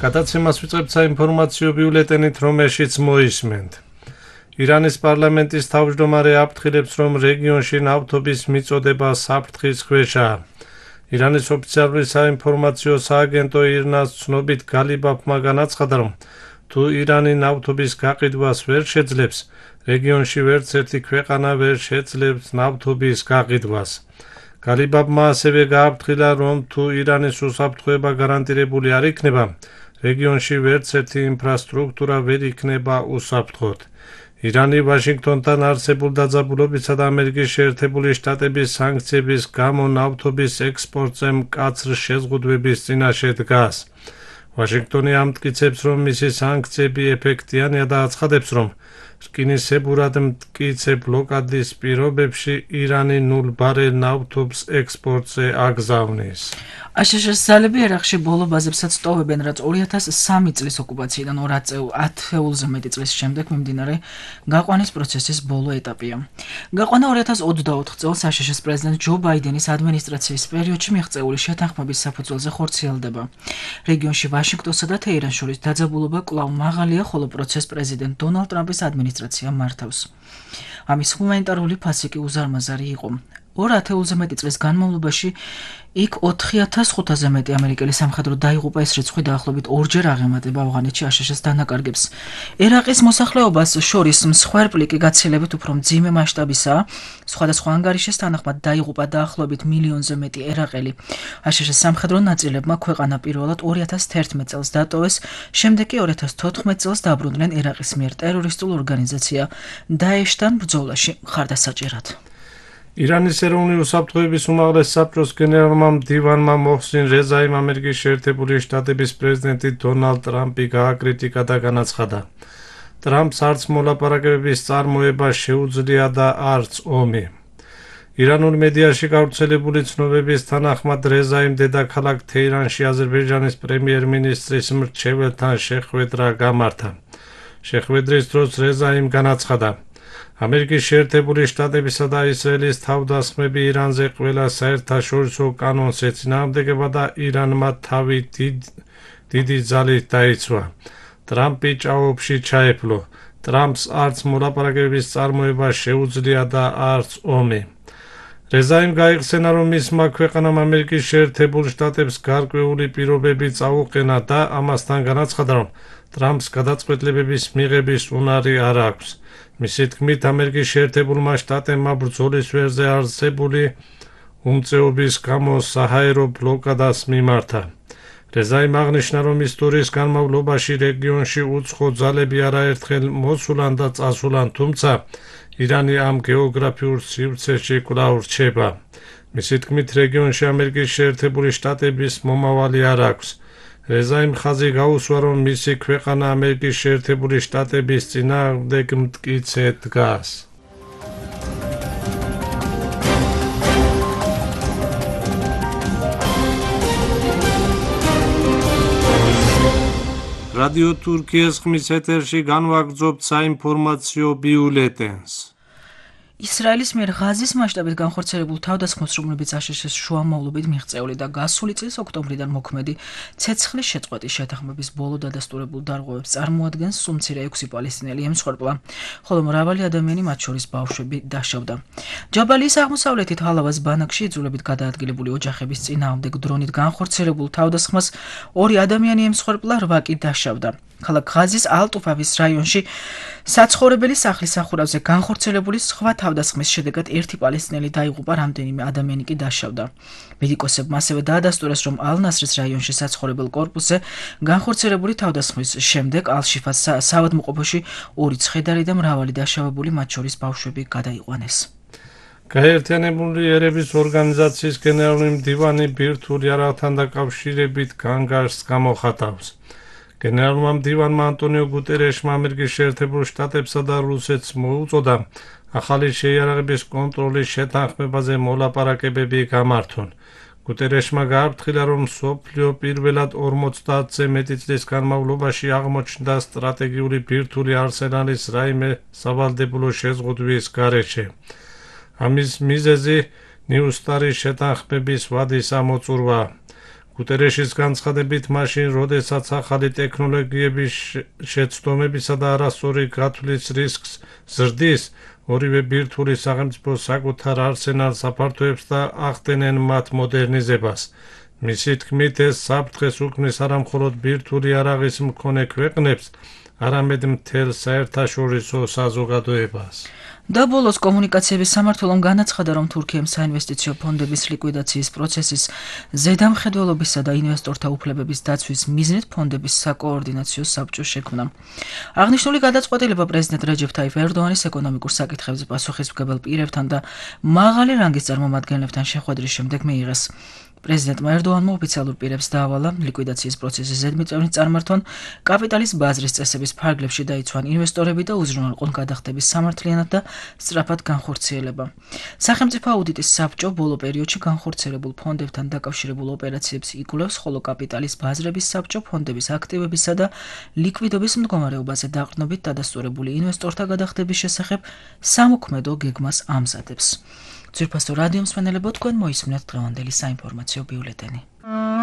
გადაცემას ვიწყებთ საინფორმაციო ბიულეტენით, რომელშიც მოისმენთ. ირანის პარლამენტის თავმჯდომარე აფრთხილებს, რომ რეგიონში ნავთობის მიწოდება საფრთხის ქვეშაა. ირანის ოფიციალური საინფორმაციო სააგენტო ირნას ცნობით გალიბაფმა განაცხადა, რომ თუ ირანი ნავთობის გაყიდვას ვერ შეძლებს, რეგიონში ვერც ერთი ქვეყანა ვერ შეძლებს ნავთობის გაყიდვას. გალიბაფმა ასევე გააფრთხილა, რომ თუ ირანის უსაფრთხოება გარანტირებული არ იქნება, რეგიონში ვერც ერთი ინფრასტრუქტურა ვერ იქნება უსაფრთხოდ. ირანი ვაშინგტონთან არსებულ დაძაბულობისა და ამერიკის შეერთებული შტატების სანქციების გამო ნავთობის ექსპორტზე მკაცრ შეზღუდვების წინაშე დგას. ვაშინგტონი ამტკიცებს, რომ მისი სანქციები ეფექტიანია და აცხადებს, რომ რკინისებურად მტკიცე ბლოკადის პირობებში ირანი 0 ბარელ ნავთობს ექსპორტზე აგზავნის. აშშ-ის ძალები ერაყში ბოლო ბაზებსაც ტოვებენ, რაც 2003 წლის ოკუპაციიდან 10-ზე მეტი წლის შემდეგ მიმდინარე გაყვანის პროცესის ბოლო ეტაპია. გაყვანა 2024 წელს აშშ-ის პრეზიდენტ ჯო ბაიდენის ადმინისტრაციის პერიოდში მიღწეული შეთანხმების საფუძველზე ხორციელდება. რეგიონში ვაშინგტონსა და თეირანს შორის დაძაბულობა კვლავ მაღალია, ხოლო პროცესს პრეზიდენტ დონალდ ტრამპის ადმინისტრაცია მართავს. ამის ჰუმანიტარული ფასი კი უზარმაზარი იყო. 2-ზე მეტი წლის განმავლობაში იქ 4500-ზე მეტი ამერიკელი სამხედრო დაიღუპა, ეს რიცხვი დაახლოებით 2-ჯერ აღემატება ავღანეთში აშშ-ის დანაკარგებს. ერაყის მოსახლეობას შორის მსხვერპლი კი გაცილებით უფრო მძიმე მასშტაბისაა. სხვადასხვა ანგარიშის თანახმად დაიღუპა დაახლოებით 1 მილიონზე მეტი ერაყელი. აშშ-ის სამხედრო ნაწილებმა ქვეყანა პირველად 2011 წელს დატოვეს, შემდეგ კი 2014 წელს დაბრუნდნენ ერაყის მიერ ტერორისტულ ორგანიზაცია დაეშთან ბრძოლაში მხარდასაჭერად. ირანის ეროვნული უსაფრთხოების უმაღლეს საბჭოს გენერალმა მდივანმა მოჰსინ რეზაიმ ამერიკის შეერთებული შტატების პრეზიდენტი დონალდ ტრამპი გააკრიტიკა და განაცხადა, ტრამპს არც მოლაპარაკებების წარმოება შეუძლია და არც ომი. ირანულ მედიაში გავრცელებული ცნობების თანახმად რეზაიმ დედაქალაქ თეირანში აზერბაიჯანის პრემიერ-მინისტრის მრჩეველთან შეხვედრა გამართა. შეხვედრის დროს რეზაიმ განაცხადა, ამერიკის შეერთებული შტატებისა და ისრაელის თავდასხმები ირანზე ყველა საერთაშორისო კანონს ეწინააღმდეგება და ირანმა თავი დიდი ძალით დაიცვა. ტრამპი ჭაობში ჩაეფლო. ტრამპს არც მოლაპარაკებების წარმოება შეუძლია და არც ომი. რეზაიმ გაიხსენა, რომ მისმა ქვეყანამ ამერიკის შეერთებულ შტატებს გარკვეული პირობები წაუყენა და ამასთან განაცხადა, რომ ტრამპს გადაწყვეტილებების მიღების უნარი არ აქვს. მისი თქმით, ამერიკის შეერთებულმა შტატებმა ბრძოლის ვერზე არსებული უმწეობის გამო საჰაერო ბლოკადას მიმართა. რეზაიმ აღნიშნა, რომ ისტორიის განმავლობაში რეგიონში უცხო ძალები არაერთხელ მოსულან და წასულან, თუმცა ირანი ამ გეოგრაფიულ სივრცეში კვლავ რჩება. მისი თქმით, რეგიონში ამერიკის შეერთებული შტატების მომავალი არ აქვს. რეზაიმ ხაზი გაუსვა, რომ მისი ქვეყანა ამერიკის შეერთებული შტატების წინააღმდეგ მტკიცე დგას. რადიო თურქიის ხმის ეთერში განვაგრძობთ საინფორმაციო ბიულეტენს. ისრაელის მიერ ღაზის მასშტაბით განხორციელებულ თავდასხმებს, რომლებიც აშშ-ის შუამავლობით მიღწეული და გასული წლის ოქტომბრიდან მოქმედი ცეცხლის შეწყვეტის შეთანხმების ბოლო დადასტურებულ დარღვევებს წარმოადგენს, სულ მცირე 6 პალესტინელი ემსხვერპლა, ხოლო მრავალი ადამიანი, მათ შორის ბავშვები, დაშავდა. ჯაბალიის აღმოსავლეთით ჰალავას ბანაკში იძულებით გადაადგილებული ოჯახების წინააღმდეგ დრონით განხორციელებულ თავდასხმას 2 ადამიანი ემსხვერპლა, 8 კი დაშავდა. ქალაქ ღაზის ალ-ტუფავის რაიონში საცხოვრებელი სახლის სახურავზე განხორციელებული სხვა თავდასხმის შედეგად 1 პალესტინელი დაიღუპა, რამდენიმე ადამიანი კი დაშავდა. მედიკოსებმა ასევე დაადასტურეს, რომ ალ-ნასრის რაიონში საცხოვრებელ კორპუსზე განხორციელებული თავდასხმის შემდეგ ალ-შიფას საავადმყოფოში 2 ცხედარი და მრავალი დაშავებული, მათ შორის ბავშვები, გადაიყვანეს. გაერთიანებული ერების ორგანიზაციის გენერალური მდივანი ბირთვული არაღთან დაკავშირებით განგარს გამოხატავს. გენერალურმა მდივანმა ანტონიო გუტერეშმა ამერიკის შეერთებულ შტატებსა და რუსეთს მოუწოდა ახალი შეიარაღების კონტროლის შეთანხმებაზე მოლაპარაკებები გამართონ. გუტერეშმა გააფრთხილა, რომ მსოფლიო პირველად 50-ზე მეტი წლის განმავლობაში აღმოჩნდა სტრატეგიული ბირთვული არსენალის რაიმე სავალდებულო შეზღუდვის გარეშე. ამის მიზეზი ნიუსტარის შეთანხმების ვადის ამოწურვა. გუტერეშის განცხადებით, მაშინ, როდესაც ახალი ტექნოლოგიების შეცდომებისა და არასწორი გათვლის რისკს ზრდის, ორივე ბირთვული სახელმწიფო საკუთარ არსენალს აფართოებს და ახდენენ მათ მოდერნიზებას. მისი თქმით, ეს საფრთხეს უქმნის არა მხოლოდ ბირთვული იარაღის მქონე ქვეყნებს, არამედ მთელ საერთაშორისო საზოგადოებას. და ბოლოს კომუნიკაციების სამმართველომ განაცხადა, რომ თურქიამ საინვესტიციო ფონდების ლიკვიდაციის პროცესის ზედამხედველობისა და ინვესტორთა უფლებების დაცვის მიზნით ფონდების საკოორდინაციო საბჭო შექმნა. აღნიშნული გადაწყვეტილება პრეზიდენტ რეჯეფ ტაიფ ერდოანის ეკონომიკურ საკითხებზე პასუხისმგებელ პირებთან და მაღალი რანგის წარმომადგენლებთან შეხვედრის შემდეგ მიიღეს. პრეზიდენტმა ერდოანმა ოფიციალურ პირებს დაავალა ლიკვიდაციის პროცესის ზედმიწევნით წარმართვან, კაპიტალის ბაზრის წესების ფარგლებში დაიცვან ინვესტორები და უზრუნველყონ გადახდების სამართლიანად და სწრაფად განხორციელება. სახელმწიფო აუდიტის საბჭო ბოლო პერიოდში განხორციელებულ ფონდებთან დაკავშირებულ ოპერაციებს იკვლევს, ხოლო კაპიტალის ბაზრების საბჭო ფონდების აქტივებისა და ლიკვიდობის მდგომარეობაზე დაყრდნობით დადასტურებული ინვესტორთა გადახდების შესახებ სამოქმედო გეგმას ამზადებს. ძვირფასო რადიო მსმენელებო, თქვენ მოისმინეთ დღევანდელი საინფორმაციო ბიულეტენი.